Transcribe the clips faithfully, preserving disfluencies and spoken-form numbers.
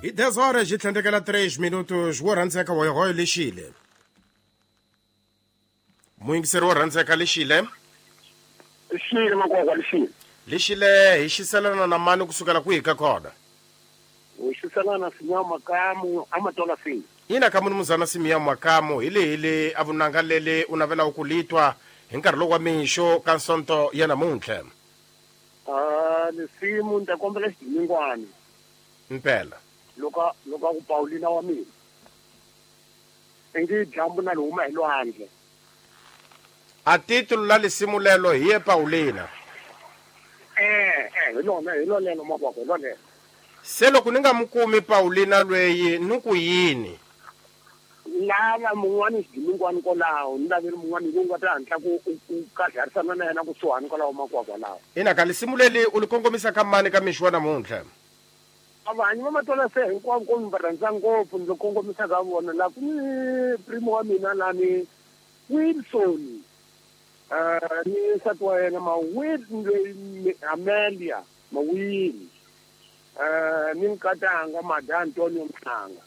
Hi dez horas yi tlhandlekela tres minutos wo rhandzeka hoyohoyo lexile. Muyingiseri wo rhandzeka lexile. Lexile makwakwa lexile. Lexile hi xiselana na mani kusukela kwihi ka kona? Hi xiselana Simeon Makamu amatola fini. Ina ka munumuzana Simeon Makamu hi lehi le a vunanga lele u navelaka ku litwa hi nkarhi lowu wa mixo ka Sonto ya namuntlha. Ah, lesimu ni ta kombela xidimingwana. Mpela. Loko loko ku Paulina wa mina. Ingi dyambu na huma hi lwandle. A titulo la lesimu lelo hi ye Paulina. Eh, eh, hi lona hi lona makwakwa hi lona. Se loko ni nga mu kumi Paulina lweyi ni ku yini? Lava mun'wani xidimingwana kwalaho ni laveli mun'wani lowu nga ta hatla ku ku kadlarisana na yena kusuhani kwalaho makwakwa lawa. Ina ka lesimu leli u li kongomisa ka mani ka mixo wa namuntlha? Avanyi va matola se hinkwavo ko mi va rhandza ngopfu ndzi kongomisa ka vona la ku ni primo wa mina lani Wilson eh ni nsati wa yena ma Will Amelia Mawini eh ni nkatanga Mada Antonio Mhlanga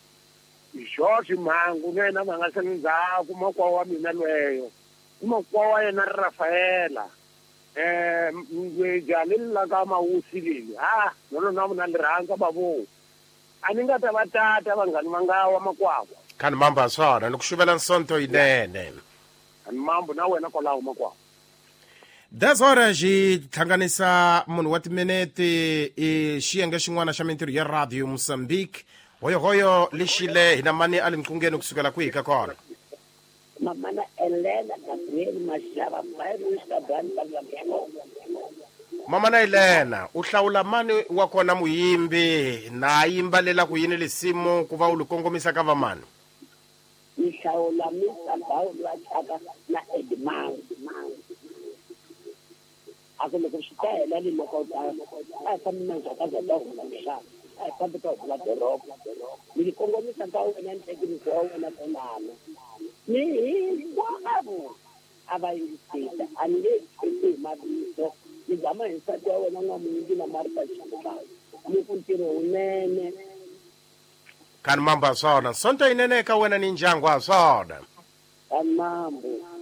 George Mhangu na yena va nga sali ndzhaku makwa wa mina lweyo makwa wa yena Rafaela eh ngwe la ka mawusi leli ha no na na li rhandza bavo a ni nga ta va tata vanghani va nga wa makwakwa khani mambo a swona ni ku xuvela Nsonto yinene ani mambo na wena kwalaho makwakwa. Dez horas yi hlanganisa munhu wa timinete i xiyenge xin'wana xa mintirho ya Radio Mozambique. Hoyohoyo lexile hi na mani a le nqungeni kusukela kwihi ka kona? Mamana Elena Gabriel Mashava Mamana Elena u hlawula mani wa kona muyimbi na yimbalela ku yini lesimu ku va u li kongomisa ka vamani? Ni hlawula Mister Paul wa Chaka na Edmund. A ku loko swi ta hela ni loko a fambi na ndzhaka za ta huma mixava a fambi ta huma doroba ni li kongomisa ka wena ni thekinisi wa wena konana ni hinkwavo a va yingisita a ni nge hi mavito ni zama hi nsati wa wena n'wamuyingi na Martha Xikuba ni ku ntirho wunene khani mambo a swona Sonto yinene eka wena ni ndyangu a swona khani mambo.